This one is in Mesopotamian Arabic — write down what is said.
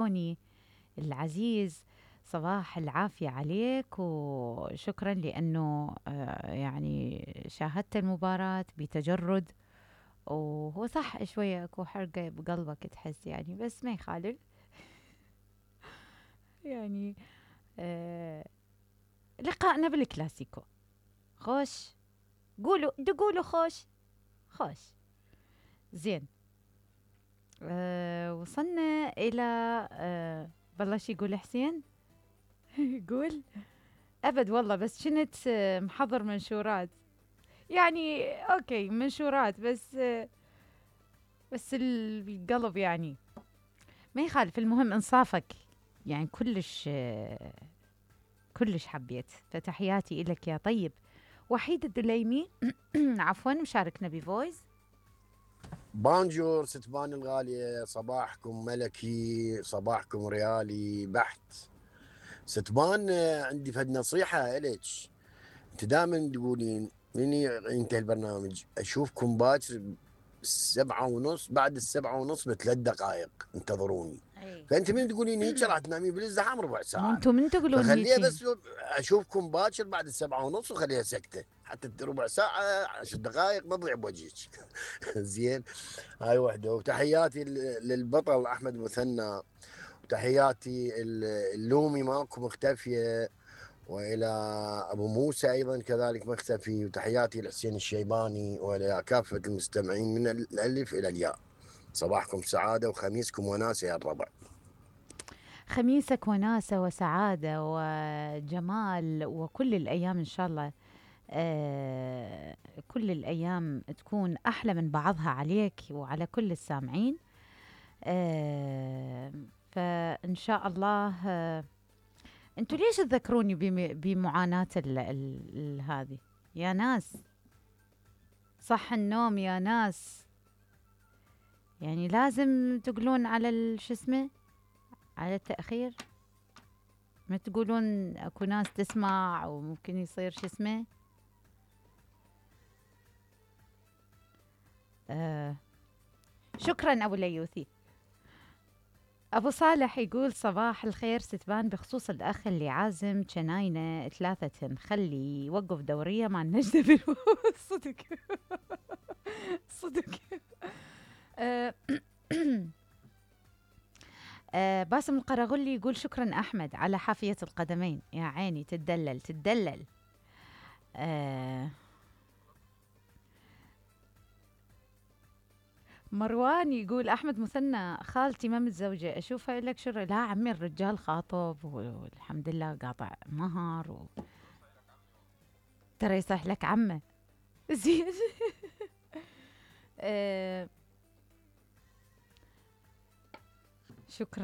تلفوني العزيز، صباح العافية عليك، وشكرا لأنه يعني شاهدت المباراة بتجرد. وهو صح شوية اكو حرقة بقلبك تحس يعني، بس ما يخالف. يعني لقائنا بالكلاسيكو خوش. قولوا خوش خوش. زين. وصلنا إلى بلش يقول حسين. يقول أبد والله، بس كنت محضر منشورات يعني. أوكي منشورات، بس القلب يعني ما يخالف. المهم إنصافك يعني كلش حبيت. فتحياتي إلك يا طيب. وحيد الدليمي عفوا مشاركنا بفويس. بانجور ستبان الغالية، صباحكم ملكي، صباحكم ريالي بحت. ستبان عندي فد نصيحة إلك. انت دائما تقولين من ينتهي البرنامج اشوفكم باكر 7:30، بعد 7:30 ب3 دقائق انتظروني. أي. فانت من تقولين هيك راح تنامين بالازدحام ربع مو ساعة. انتم من تقولون فخليها هيجي؟ بس اشوفكم باكر بعد 7:30 وخليها سكتة، حتى ربع ساعة 10 دقائق ما تضيع بوجهك. زين. هاي وحده. وتحياتي للبطل احمد مثنى، وتحياتي اللومي مالكم مختفيه، والى ابو موسى ايضا كذلك مختفي، وتحياتي لحسين الشيباني والى كافه المستمعين من الالف الى الياء. صباحكم سعاده وخميسكم وناسه يا الربع. خميسك وناسة وسعادة وجمال، وكل الأيام إن شاء الله كل الأيام تكون أحلى من بعضها عليك وعلى كل السامعين. فإن شاء الله. أنتوا ليش تذكروني بمعاناة هذه يا ناس؟ صح النوم يا ناس، يعني لازم تقولون على شو اسمه، على التأخير. ما تقولون اكو ناس تسمع وممكن يصير شو اسمه. شكرا ابو ليوثي. ابو صالح يقول صباح الخير ستبان، بخصوص الاخ اللي عازم جناينه 3 خلي يوقف دوريه مع النجدة صدق. صدق. باسم القراغلي يقول شكرا أحمد على حافية القدمين، يا عيني تدلل تدلل. مروان يقول أحمد مثنى خالتي ما متزوجة أشوفها لك شر. لا عمي الرجال خاطب والحمد لله قاطع مهر ترى يصح لك عمه. زين. شكرا.